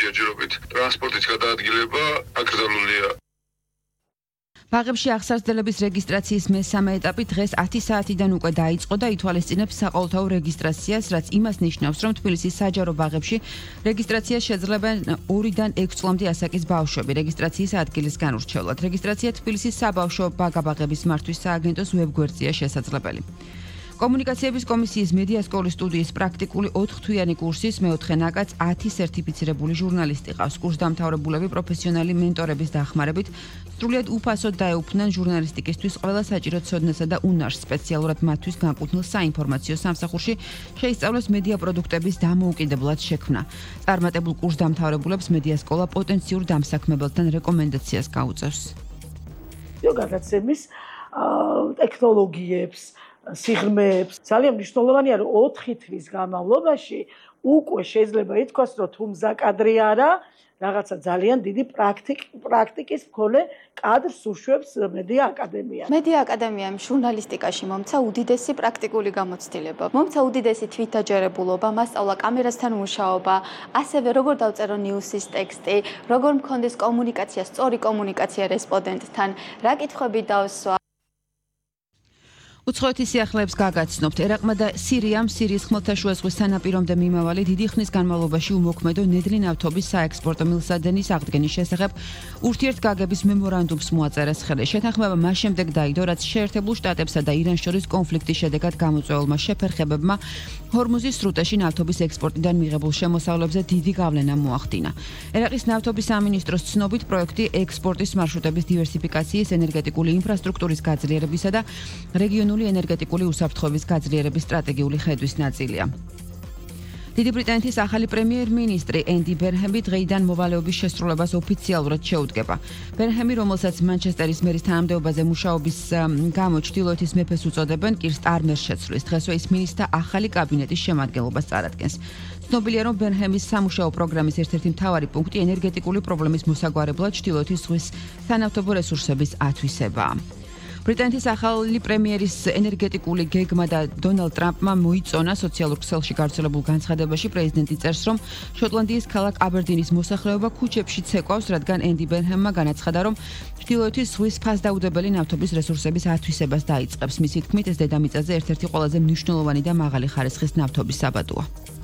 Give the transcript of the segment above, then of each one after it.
ჯერჯერობით ტრანსპორტის გადაადგილება აკრძალულია. ბაღებში აღსარდლების რეგისტრაციის მესამე ეტაპი დღეს 10 საათიდან უკვე დაიწყო და ითვალისწინებს საყოველთაო რეგისტრაციას, რაც იმას ნიშნავს, რომ თბილისის საჯარო ბაღებში რეგისტრაციას შეძლებენ 2-დან 6 წლამდე ასაკის ბავშვები რეგისტრაციის ადგილის განურჩევლად. რეგისტრაცია თბილისის საბავშვო ბაღ-ბაღების მართვის სააგენტოს ვებგვერდზეა შესაძლებელი. კომუნიკაციების კომისიის მედია სკოლის სტუდიის პრაქტიკული 4-თვიანი კურსის მეოთხე ნაკადს 10 სერტიფიცირებული ჟურნალისტი ყავს. კურსდამთავრებულები პროფესიონალი მენტორების დახმარებით სრულიად უფასოდ დაეუფლნენ ჟურნალისტიკისთვის ყველა საჭირო ცოდნასა და უნარს. სპეციალურად მათთვის განკუთვნილ საინფორმაციო სამსახურში შეისწავლეს მედია პროდუქტების დამოუკიდებლად შექმნა. წარმატებულ კურსდამთავრებულებს მედია სკოლა პოტენციურ დამსაქმებელთან რეკომენდაციას გაუწევს. გადაცემის ტექნოლოგიებს სიღრმეებს ძალიან მნიშვნელოვანია რომ 4 თვის განმავლობაში უკვე შეიძლება ითქვას რომ თუ მზაკადრი არა რაღაცა ძალიან დიდი პრაქტიკის მქონე კადრს უშვებს მედია აკადემია. მედია აკადემიამ ჟურნალისტიკაში მომცა უდიდესი პრაქტიკული გამოცდილება. მომცა უდიდესი თვითაჯერებულობა, მასწავლა კამერასთან მუშაობა, ასევე როგორ დავწერო ნიუსის ტექსტი, როგორ მქონდეს კომუნიკაცია, სწორი კომუნიკაცია რესპონდენტთან, რა კითხვები დავსვა. უცხოეთის სიახლეებს გაგაცნობთ. ერაყმა და სირიამ სირიის ხმელთაშუა ზღვის სანაპირომდე მიმავალი დიდი ხნის განმავლობაში უმოქმედო ნედლი ნავთობის საექსპორტო მილსადენის აღდგენის შესახებ ურთიერთგაგების მემორანდუმს მოაწერეს ხელი. შეთანხმება მას შემდეგ დაიდო, რაც შეერთებულ შტატებსა და ირანს შორის კონფლიქტის შედეგად გამოწვეულმა შეფერხებებმა ჰორმუზის სრუტეში ნავთობის ექსპორტიდან მიღებულ შემოსავლებზე დიდი გავლენა მოახდინა. ერაყის ნავთობის სამინისტროს ცნობით პროექტი ექსპორტის მარშრუტების დივერსიფიკაციის, ენერგეტიკული ინფრასტრუქტურის გაძლიერებისა და რეგიონული ენერგეტიკული უსაფრთხოების გაძლიერების სტრატეგიული ხედვის ნაწილია. დიდი ბრიტანეთის ახალი პრემიერ-მინისტრი ენდი ბერჰემი დღეიდან მოვალეობის შესრულებას ოფიციალურად შეუდგება. ბერჰემი, რომელსაც მანჩესტერის მერის თანამდებობაზე მუშაობის გამო ჩრდილოეთის მეფეს უწოდებენ, კირ სტარმერს შეცვლის. დღესვე ის მინისტრთა ახალი კაბინეტის შემადგენლობას წარადგენს. ცნობილია, რომ ბერჰემის სამუშაო პროგრამის ერთ-ერთი მთავარი პუნქტი ენერგეტიკული პრობლემის მოსაგვარებლად ჩრდილოეთის ზღვის სანავთობო რესურსების ათვისებაა. ბრიტანეთის ახალი პრემიერის ენერგეტიკული გეგმა და დონალდ ტრამპმა მოიწონა სოციალურ ქსელში გავრცელებულ განცხადებაში პრეზიდენტი წერს, რომ შოტლანდიის ქალაქ აბერდინის მოსახლეობა ქუჩებში ცეკვავს, რადგან ენდი ბერჰემმა განაცხადა, რომ ჩრდილოეთის ზღვის ფასდაუდებელი ნავთობის რესურსების ათვისებას დაიწყებს. მისი თქმით, ეს დედამიწაზე ერთ-ერთი ყველაზე მნიშვნელოვანი და მაღალი ხარისხის ნავთობის საბადოა.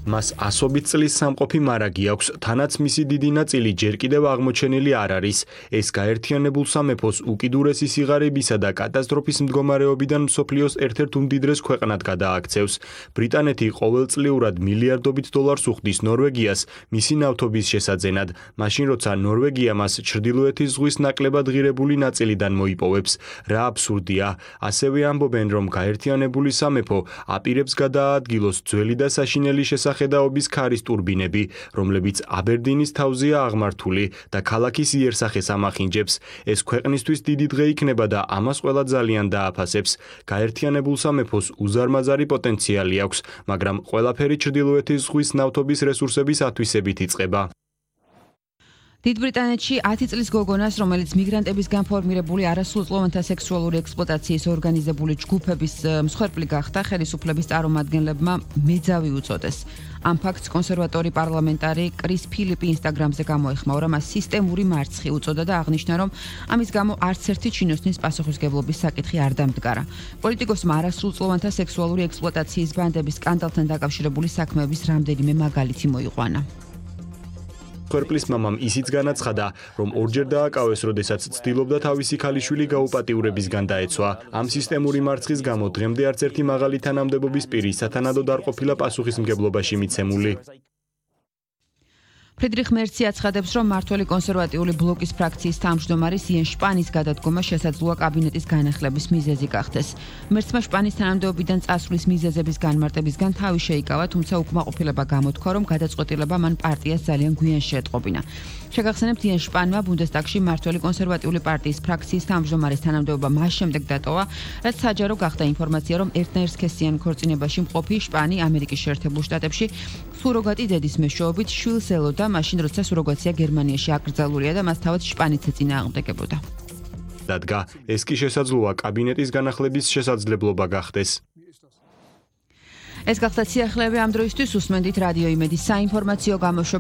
მას ასობით წლის სამყოფი მარაგი აქვს, თანაც მისი დიდი ნაწილი ჯერ კიდევ აღმოჩენილი არ არის. ეს გაერთიანებულ სამეფოს უკიდურესი სიღარიბისა და კატასტროფის მდგომარეობიდან მსოფლიოს ერთ-ერთ უმდიდრეს ქვეყნად გადააქცევს. ბრიტანეთი ყოველწლიურად მილიარდობით დოლარს უხდის ნორვეგიას მისი ნავთობის შესაძენად, მაშინ როცა ნორვეგია მას ჩრდილოეთის ზღვის ნაკლებად ღირებული ნაწილიდან მოიპოვებს. რა აბსურდია, ასევე ამბობენ, რომ გაერთიანებული სამეფო აპირებს გადაადგილოს ძველი და საშინელი ხედაობის ქარის ტურბინები, რომლებიც აბერდინის თავზეა აღმართული და ქალაქის იერსახეს ამახინჯებს. ეს ქვეყნისთვის დიდი დღე იქნება და ამას ყველა ძალიან დააფასებს. გაერთიანებულ სამეფოს უზარმაზარი პოტენციალი აქვს, მაგრამ ყველაფერი ჩრდილოეთის ზღვის ნავთობის რესურსების ათვისებით იწყება. დიდ ბრიტანეთში 10 წლის გოგონას, რომელიც მიგრანტებისგან ფორმირებული არასრულწლოვანთა სექსუალური ექსპლუატაციის ორგანიზებული ჯგუფების მსხვერპლი გახდა, ხელისუფლების წარმომადგენლებმა მეძავი უწოდეს. ამ ფაქტს კონსერვატორი პარლამენტარი კრის ფილიპი ინსტაგრამზე გამოეხმაურა, მას სისტემური მარცხი უწოდა და აღნიშნა, რომ ამის გამო არც ერთი ჩინოსნის პასუხისმგებლობის საკითხი არ დამდგარა. პოლიტიკოსმა არასრულწლოვანთა სექსუალური ექსპლუატაციის ბანდების სკანდალთან დაკავშირებული საქმეების რამდენიმე მაგალითი მოიყვანა. მსხვერპლის მამამ ისიც განაცხადა, რომ ორჯერ დააკავეს, როდესაც ცდილობდა თავისი ქალიშვილი გაუპატიურებისგან დაეცვა. ამ სისტემური მარცხის გამო დღემდე არც ერთი მაღალი თანამდებობის პირი სათანადოდ არ ყოფილა პასუხისმგებლობაში მიცემული. ფრიდრიხ მერცი აცხადებს, რომ მმართველი კონსერვატიული ბლოკის ფრაქციის თავმჯდომარის იენ შპანის გადადგომა შესაძლოა კაბინეტის განახლების მიზეზი გახდეს. მერცმა შპანის თანამდებობიდან წასვლის მიზეზების განმარტებისგან თავი შეიკავა, თუმცა უკმაყოფილება გამოთქვა, რომ გადაწყვეტილება მან პარტიას ძალიან გვიან შეეტყობინა. შეგახსენებთ, იენ შპანმა ბუნდესტაგში მმართველი კონსერვატიული პარტიის ფრაქციის თავმჯდომარის თანამდებობა მას შემდეგ დატოვა, რაც საჯარო გახდა ინფორმაცია, რომ ერთნაირსქესიან ქორწინებაში მყოფი შპანი ამერიკის შეერთებულ შტატებში სუროგატი დედის მეშვეობით შვილს ელოდა, მაშინ როცა სუროგაცია გერმანიაში აკრძალულია და მას თავად შპანიც ეწინააღმდეგებოდა. დადგა, ეს კი შესაძლოა კაბინეტის განახლების შესაძლებლობა გახდეს. ეს გახდა სიახლეები ამ დროისთვის. უსმენდით რადიო იმედის საინფორმაციო გამოშვებას.